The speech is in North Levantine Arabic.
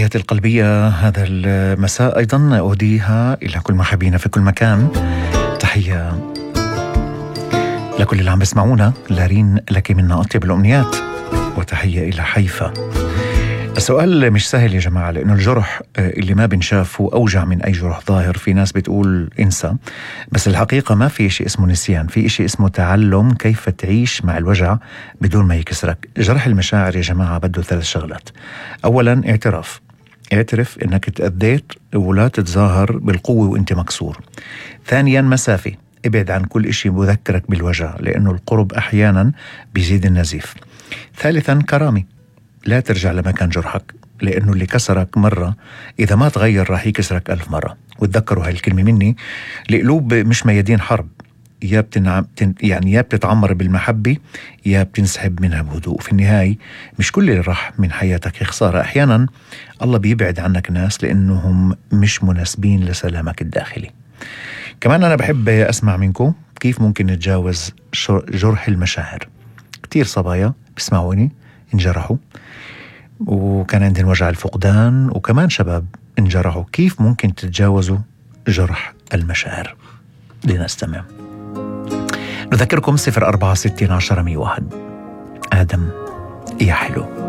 تحياتي القلبية هذا المساء أيضا أوديها إلى كل محبينا في كل مكان. تحية لكل اللي عم بسمعونا، لارين لك منا أطيب الأمنيات، وتحية إلى حيفا. السؤال مش سهل يا جماعة، لأنه الجرح اللي ما بنشافه أوجع من أي جرح ظاهر. في ناس بتقول انسى، بس الحقيقة ما في شيء اسمه نسيان، في شيء اسمه تعلم كيف تعيش مع الوجع بدون ما يكسرك. جرح المشاعر يا جماعة بده 3 شغلات. أولا اعترف إنك تأذيت ولا تتظاهر بالقوة وإنت مكسور. ثانيا مسافة، ابعد عن كل إشي بذكرك بالوجع، لأنه القرب أحيانا بيزيد النزيف. ثالثا كرامة، لا ترجع لمكان جرحك، لأنه اللي كسرك مرة إذا ما تغير راح يكسرك 1000 مرة. وتذكروا هاي الكلمة مني، القلوب مش ميادين حرب، يا بتتعمر بالمحبة يا بتنسحب منها بهدوء. في النهاية مش كل اللي راح من حياتك خسارة، أحيانا الله بيبعد عنك ناس لأنهم مش مناسبين لسلامك الداخلي. كمان أنا بحب أسمع منكم كيف ممكن نتجاوز جرح المشاعر. كتير صبايا بيسمعوني انجرحوا، وكان عندهم وجع الفقدان، وكمان شباب انجرحوا. كيف ممكن تتجاوزوا جرح المشاعر؟ لنستمع. نذكركم 0460 10 101. آدم يا حلو.